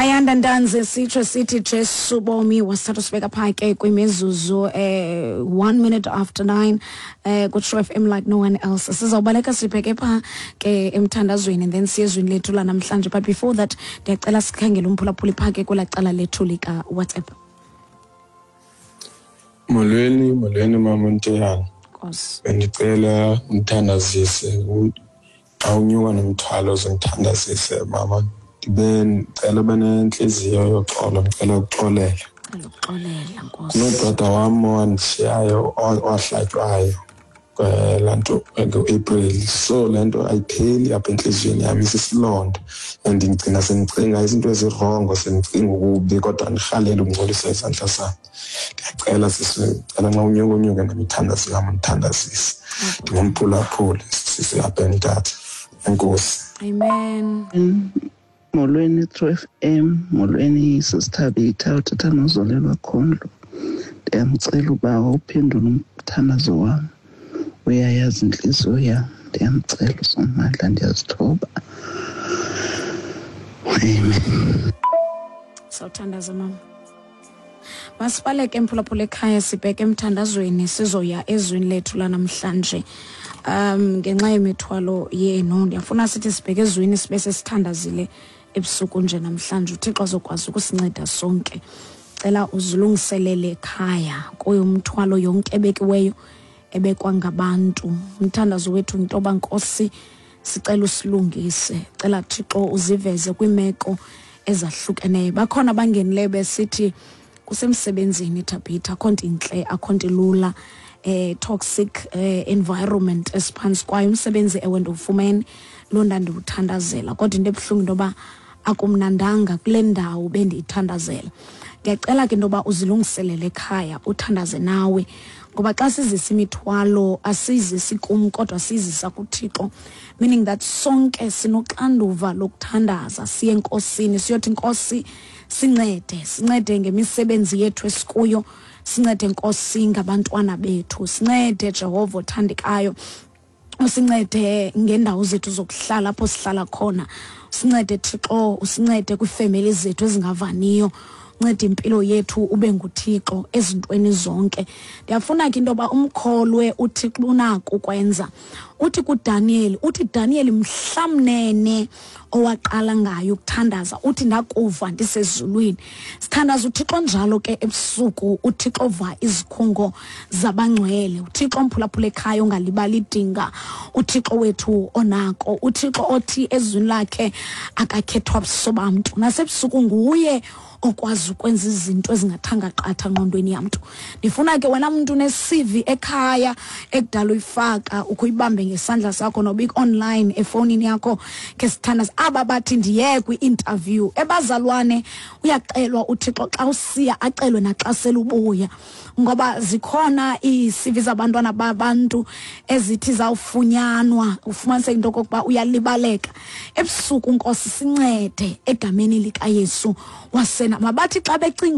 Ayanda Ntanzi, sitsho sithi Jesu bomi wasithatha sibeka phaa ke kwimizuzu 9:01 ku-True FM like no one else. Sizawubaleka sibheke phaa ke emthandazweni and then siye ezwini lethu lanamhlanje, but before that ndiyacela sikhangele umphulaphuli phaa ke kwelaa cala lethu lika-WhatsApp. Molweni, molweni mama Nteyana. Nkosi. Bendicela umthandazise, xa unyuka nomthwalo uzundithandazise mama. Ndibe ndicela ube nentliziyo yoxolo, ndicela ukuxolela. Cela ukuxolela, Nkosi. Kunobrother wam owandishiyayo, owahlatywayo laa nto ngoApril. So le nto ayipheli apha entliziyweni yam, isisilonda, and ndigcina sendicinga izinto ezirongo, sendicinga ukubi, kodwa ndirhalela ukungcolisa izandla zam. Ndiyacela sisi, ndicela nxa unyuka unyuke nemithandazo yam, undithandazise. Ndingumphulaphuli sisi apha eMthatha. Enkosi. Amen. Molweni True FM, molweni sisiThabitha, uthetha noZolelwa Khondlo. Ndiyamcela uba uphendule umthandazo wam. Uyayazi intliziyo yam. Ndiyamcela uSomandla, ndiyazithoba. Amen. Sawuthandaza mama. Masibaleke mphulaphula ekhaya, sibheke emthandazweni, sizoya ezwini lethu lanamhlanje. Ngenxa yemithwalo yenu ndiyafuna sithi sibheke ezwini sibe sesithandazile ebusuku nje namhlanje, uThixo azokwazi ukusinceda sonke. Cela uzilungiselele ekhaya kuyo umthwalo yonke ebekiweyo ebekwa ngabantu. Umthandazo wethu into yoba Nkosi sicela usilungise, cela Thixo uziveze kwiimeko ezahlukeneyo. Bakhona abangenileyo besithi kusemsebenzini Thabitha, akho nto intle, akho nto ilula, toxic environment esiphantsi kwayo. Umsebenzi ewe ndiwufumene, loo nto andiwuthandazela, kodwa into ebuhlungu into yoba akumnandanga kule ndawo bendiyithandazela. Ndiyacela ke into yoba uzilungiselele ekhaya, uthandaze nawe, ngoba xa sizisa imithwalo asiyizisi kum kodwa siyizisa kuThixo, meaning that sonke sinoxanduva lokuthandaza, siye enkosini siyothi Nkosi sincede, sincede ngemisebenzi yethu esikuyo, sincede Nkosi ngabantwana bethu, sincede Jehova othandekayo, usincede ngendawo zethu zokuhlala apho sihlala khona, usincede Thixo, usincede kwiifemeli zethu ezingavaniyo, uncede impilo yethu, ube nguThixo ezintweni zonke. Ndiyafuna ke into yoba umkholwe uThixo unako ukwenza. Uthi kuDaniel, uthi Daniel mhlamnene owaqala ngayo ukuthandaza, uthi ndakuva ndisezulwini. Sithandaza uThixo njalo ke ebusuku, uThixo ova izikhungo zabangcwele, uThixo omphulaphula ekhaya ongalibali idinga, uThixo wethu onako, uThixo othi ezwini lakhe akakhethwa buso bamntu, nasebusuku nguye okwazi ukwenza izinto ezingathanga qatha ngqondweni yamntu. Ndifuna ke wena mntu une-CV ekhaya ekudala uyifaka, ukhe uyibambe ngesandla sakho noba ik-online efowunini yakho ke sithandaza. Aba bathi ndiye kwi-interview, ebazalwane uyacelwa uThixo xa usiya, acelwe naxa selubuya, ngoba zikhona ii-CV zabantwana babantu ezithi zawufunyanwa, ufumaniseke into okokuba uyalibaleka. Ebusuku Nkosi sincede egameni likaYesu wasena. Mabathi xa becinga